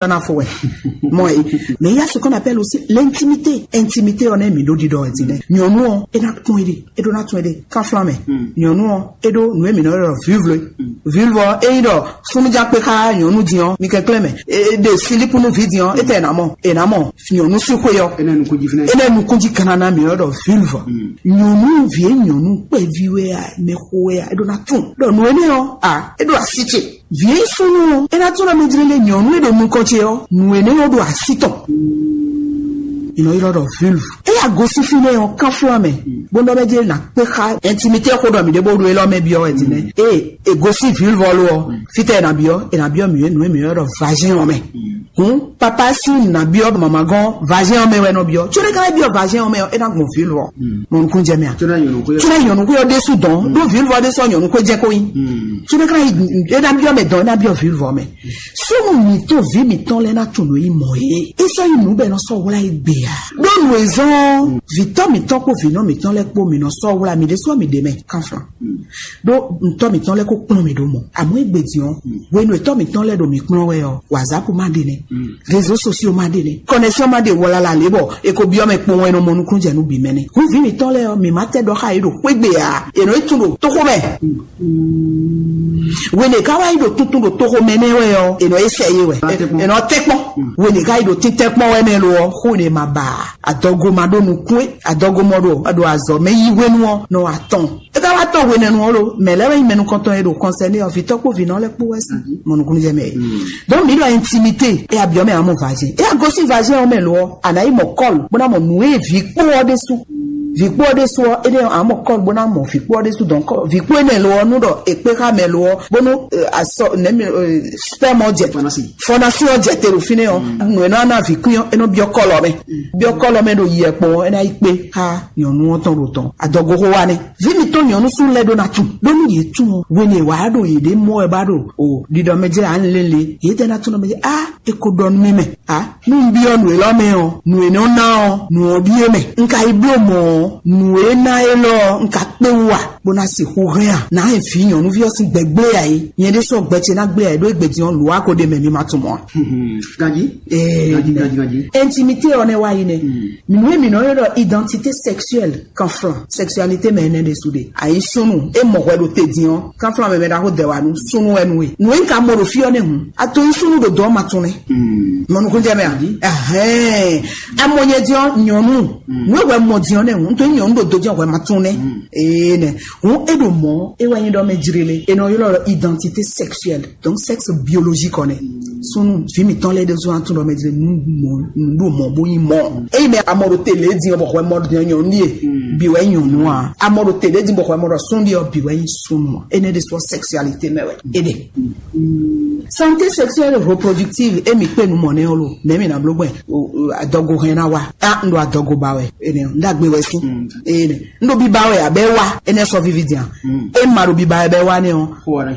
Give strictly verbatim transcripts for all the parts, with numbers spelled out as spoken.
Ná fo wɛ. Mɔ e. Mais il y a ce qu'on appelle aussi l'intimité. Intimité ɔ́ nɛ mi ɖó ɖiɖɔ wɛ din nɛ. Nyɔnu ɔ́, e na kpɔn e ɖe, e ɖó na tún e ɖe. Kanflan mɛ. Nyɔnu ɔ́, e ɖó nu e mi nɔ ɖɔ vulve. Vulve ɔ́, e yi ɖɔ sunnu ja kpe xa nyɔnu din ɔ́, mi kɛnklɛn mɛ. E ɖe silipu nu vi din ɔ́, e tɛ na mɔ, e na mɔ nyɔnu si xwe ɔ́. E nɛ nukun ji fínɛ. E nɛ nukun ji kana na mi nɔ ɖɔ vulve. Nyɔnu vi e nyɔnu kpɛvi wɛ a, mɛ xo wɛ a, e ɖó na tún. Ɖɔ nu e nɛ ɔ́, a, e ɖó asi ce. Vǐ súnnu ɔ́, é ná tlɔ́ mɛ jlé lé nyɔ̌nu e ɖo nukɔn ce ɔ́, nǔ énɛ́ ɔ́ ɖo así tɔn. È nɔ ylɔ́ ɖɔ vulve. É ya gosín fínɛ́ ɔ́, kánflán mɛ, bó nɔ́ mɛ jlé ná kpé xá intimité xó ɖɔ mǐ ɖě bó ɖo élɔ́ mɛ byɔ́ wɛ din nɛ́. Ée è gosín vulve ɔ́ lo ɔ́, fítɛ́ è nǎ byɔ́, è nǎ byɔ́ mǐ nǔ e mǐ ylɔ́ ɖɔ vagin ɔ́ mɛ. Hǔn papa sín nǔ ná byɔ́ mama gɔ́n vagin ɔ́ mɛ wɛ nɔ byɔ́. Có ɖé ka ná byɔ́ vagin ɔ́ mɛ ɔ́, é ná gbɔn vulve ɔ́. Mɔ nukúnnú jɛ mɛ a? Có ná nyɔ̌nu xwé ɔ́ ɖésú dɔn, ɖó vulve ɔ́ ɖésú ɔ́ nyɔ̌nu xwé jɛ kó nyí. Có ɖé ka ná yi, é ná byɔ́ mɛ dɔn, é ná byɔ́ vulve ɔ́ mɛ. Súnnu mǐtɔn vǐ mǐtɔn lɛ́ɛ ná tunwun nǔ e nyí mɔ̌ é. É sɔ́ nyí nǔ bɔ è nɔ sɔ́ wlá égbé ǎ. Ɖó nǔ e zɔ́n ɔ́, vǐtɔ́ mǐtɔn kpo vǐnɔ mǐtɔn lɛ́ɛ kpó mǐ nɔ sɔ́ wlá mǐ ɖésú ɔ́ mǐ ɖě mɛ kánflán. Ɖó ntɔ́ mǐtɔn lɛ́ɛ kó kplɔ́n mǐ ɖó mɔ̌. Àmọ́ égbé din ɔ́, hwenu e tɔ́ mǐtɔn lɛ́ɛ ɖo mǐ kplɔ́n wɛ ɔ́, WhatsApp ma ɖe nɛ́. Réseaux sociaux ma ɖe nɛ́. Connexion ma ɖe wɔ lala lě bɔ è ko byɔ́ mɛ kpowun wɛ è nɔ mɔ nukúnnú jɛ nú bǐ mɛ nɛ́. Hǔn vǐ mǐtɔn lɛ́ɛ ɔ́, mǐ ma tɛ ɖɔ xá yě ɖo xwé gbe ǎ. È nɔ yi tún ɖo tóxó mɛ. Hwenu e ká wá yi ɖo tuntun ɖo toxo mɛ nɛ́ wɛ ɔ́, è nɔ yi sɛ yé wɛ. È nɔ tɛ kpɔn. Hwenu e ká yi ɖo títɛ́ kpɔn wɛ nɛ́ lo ɔ́, xó ne ma ba ǎ. Adɔgo ma ɖó nukún é, adɔgo mɔ ɖo ɖo azɔ̌ mɛ yí hwenu ɔ́ nɔ atɔn. É ká wá tɔn hwenɛ́nu ɔ́ lo, mɛ lɛ́ wɛ nyí mɛ nukɔntɔn e ɖo kɔnsɛ́ nɛ́ ɔ́, vǐtɔ́ kpó vǐnɔ lɛ́ kpó wɛ sí. Mɔ nukúnnú jɛ mɛ. Donc mǐ ɖɔ intimité, é abyɔ́ mɛ amɔ vǎ jɛ. É agosín vǎ jɛ ɔ́ mɛ lo ɔ́, a nǎ yi mɔ kɔ́lu bó ná mɔ nǔ e vǐ kpó ɔ́ ɖésú. Vǐ kpó ɔ́ ɖésú ɔ́, énɛ́ ɔ́, a mɔ kɔ́lu bó ná mɔ vǐ kpó ɔ́ ɖésú dɔn kɔ́ vǐ kpó énɛ́ lo ɔ́ nú ɖɔ è kpé xá mɛ lo ɔ́, bónú asɔ nɛ́ mi spɛ́m ɔ́ jɛ fɔnasi ɔ́ jɛ te ɖo fínɛ́ ɔ́, nǔ e nɔ ná vǐ kwín ɔ́, é nɔ byɔ́ kɔ́lɔ mɛ. Byɔ́ kɔ́lɔ mɛ ɖo yi ɛkpɔn ɔ́, é ná yi kpé xá nyɔ̌nu ɔ́ tɔn ɖo tɔn. Adɔgoxo wa nɛ́. Vǐ mǐtɔn nyɔ̌nu súnnu lɛ́ɛ ɖó ná tunwun ɖó nú yě tunwun ɔ́, hwenu e wǎ ɖo yěɖée mɔ wɛ bá ɖo o ɖiɖɔ mɛ jlɛ́ ǎ lélẹ̀, yě tɛ ná tunwun ɖɔ mɛ jlɛ́ á, é ko ɖɔ nú mì mɛ. Á, nú un byɔ́ nǔ élɔ́ mɛ ɔ́, nǔ e nɔ ná ɔ́, nǔ ɔ́ ɖíe mɛ. Un ka yi bló mɔ̌ ɔ́, nǔ e ná élɔ́ ɔ́, un ka kpé wú a, bó ná sixú hɛn a? Nǎ hɛn vǐ nyɔ̌nuví ɔ́ sín gbɛ gblé ǎ é. Nyɛ ɖésú ɔ́, gbɛ ce ná gblé ǎ é, ɖó égbé din ɔ́, lǔ wá ko ɖe mɛ mi ma tunwun mɔ̌ a. Ganjí. Ee, ganjí, ganjí, ganjí. Intimité ɔ́ nɛ́ wá yi nɛ́. Nǔ e mǐ nɔ ylɔ́ ɖɔ identité sexuelle. Kanflan, sexualité mɛ énɛ́ ɖésú ɖe. Ayi súnnu, é mɔ hwɛ ɖo te din ɔ́, kanflan mɛ mɛ ɖaxó dɛ wa nú súnnu wɛ nú we. Nǔ e un ka mɔ ɖo fí ɔ́ nɛ́ hǔn, a to nyí súnnu ɖo dɔ̌ ma tún nɛ́. Mɔ nukúnnú jɛ mɛ a? Ɛhɛn. A mɔ nyɛ din ɔ́, nyɔ̌nu, nǔ e hwɛ mɔ din ɔ́ nɛ́ hǔn, un to nyí nyɔ̌nu ɖo do jɛ́n hwɛ ma tún nɛ́. Ee nɛ. Hǔn é ɖo mɔ̌, é wɛ nyí ɖɔ mɛ jlé lé. È nɔ ylɔ́ ɖɔ identité sexuelle. Donc sexe biologique ɔ́ nɛ́. Súnnu, vǐ mǐtɔn lɛ́ɛ ɖésú ná tunwun ɖɔ mɛ jlé nǔ mɔ nǔ ɖo mɔ̌ bó nyí mɔ̌. Ényí mɛ a mɔ ɖo te lě din ɔ́ bɔ hwɛ mɔ ɖɔ nyɔ̌nu ɖíe, bǐ wɛ nyí nyɔ̌nu a? A mɔ ɖo te lě din bɔ hwɛ mɔ ɖɔ súnnu ɖíe ɔ́, bǐ wɛ nyí súnnu a? Énɛ́ ɖésú ɔ́, sexualité mɛ wɛ é ɖe. Santé sexuelle reproductive, émi kpé nu mɔ nɛ́ ɔ́ lo, nɛ̌ mi ná bló gbɛn? Adɔgo hɛn ná wa. A un ɖo adɔgo ba wɛ, énɛ́ ɔ́, un ɖagbe wɛ sín. Énɛ́ un ɖo biba wɛ abɛ wa, énɛ́ sɔ vivi din a? E ma ɖo biba wɛ bɛ wa nɛ́ ɔ́,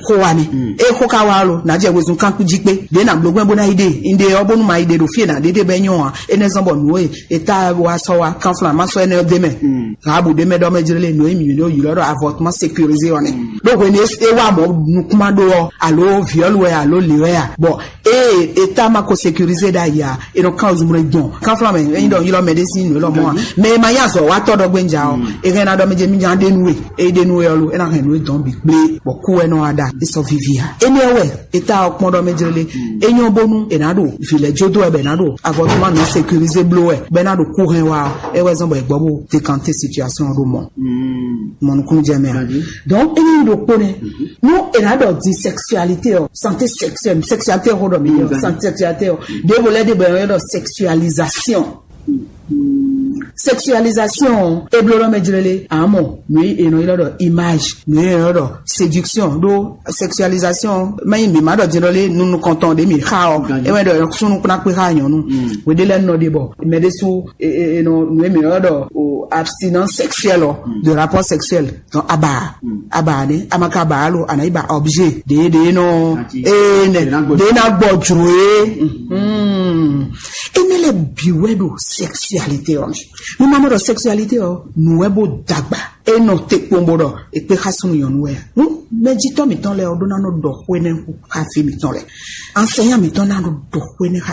xó wa nɛ́. E xó ka wa lo, nà jɛ wezun kankun jí kpé. Ɖě nà bló gbɛn bó ná yi ɖe, un ɖe ɔ́ bónú ma yi ɖe ɖo fí e nà ɖe ɖe bɛ nyɔ a? Énɛ́ zɔn bɔ nǔ e e ta wa sɔ wa kanflan ma sɔ énɛ́ ɔ́ ɖe mɛ. Rabu ɖe mɛ ɖɔ mɛ jlé nǔ e mǐ ɖo ylɔ́ ɖɔ avortement sécurisé ɔ́ nɛ́. Ɖó hwenu e é wa mɔ̌ nukúnma ɖó ɔ́, alo viɔ́lu wɛ alo lě wɛ a? Bɔ ée e ta ma ko sécurisé ɖ'ayǐ a, e nɔ kán ozumlɛ gbɔn. Kanflan mɛ, e nyi ɖɔ ylɔ́ mɛ ɖé sín nǔ élɔ́ mɔ̌ a? Mɛ e ma nyí azɔ̌watɔ́ ɖɔ gbɛ́nja ɔ́, e hɛn ná ɖɔ mɛ jɛ mí nya ɖe nú we. E ɖe nú we ɔ́ lo, é ná hɛn nǔ e dɔn bǐ kplé, bɔ kú wɛ nɔ wa ɖa, é sɔ́ víví a? Énɛ́ wɛ e ta ɔ́ kpɔ́n ɖɔ mɛ jlé lé. É nyɔ́ bónú è nǎ ɖo vǐ lɛ́ɛ jó dó wɛ bɔ è nǎ ɖo avortement non sécurisé bló wɛ, bɔ è nǎ ɖo kú hɛn wá ɔ́, é wɛ zɔ́n bɔ è gbɔ bó décanté situation ɔ́ ɖó mɔ. Mɔ nukúnnú jɛ mɛ a? Donc é nyí ɖokpó nɛ. Nú è nǎ ɖɔ di sexualité ɔ́, santé sexuelle, sexualité xó ɖɔ mǐ ɔ́, santé sexualité ɔ́, ɖěvo lɛ́ɛ ɖe bɔ è nɔ ɖɔ sexualisation. Sexualisation ɔ́, é bló ɖɔ mɛ jlélé, àmọ́ nǔ e è nɔ ylɔ́ ɖɔ image, nǔ e è nɔ ylɔ́ ɖɔ séduction ɖó sexualisation, mɛ nyi mǐ ma ɖɔ din ɖɔ lé nunu kɔntɔn ɖě mǐ xa ɔ́, é wɛ ɖɔ súnnu kplá kpé xá nyɔ̌nu. Hweɖé lɛ́ɛ nɔ ɖe bɔ mɛ ɖésú e e e nɔ nǔ e mǐ ylɔ́ ɖɔ o abstinence sexuelle ɔ, de rapport sexuel. Donc aba aba ne amaka ba alo anayi ba objet ɖe ɖe nɔ ene ɖe na gbɔ dzro ye. Ene lɛ bi wɛ ɖo sexualité ɔ mɛ. Mo ma nɔ ɖɔ sexualité ɔ, nǔ wɛ bó dàgbà. E nɔ te kpɔn bó ɖɔ è kpé xá súnnu nyɔ̌nu wɛ a? Hǔn mɛjitɔ́ mǐtɔn lɛ́ɛ ɔ́ ɖó ná nɔ ɖɔ xó énɛ́ xá fí mǐtɔn lɛ́ɛ. Ansɛnyá mǐtɔn ná nɔ ɖɔ xó énɛ́ xá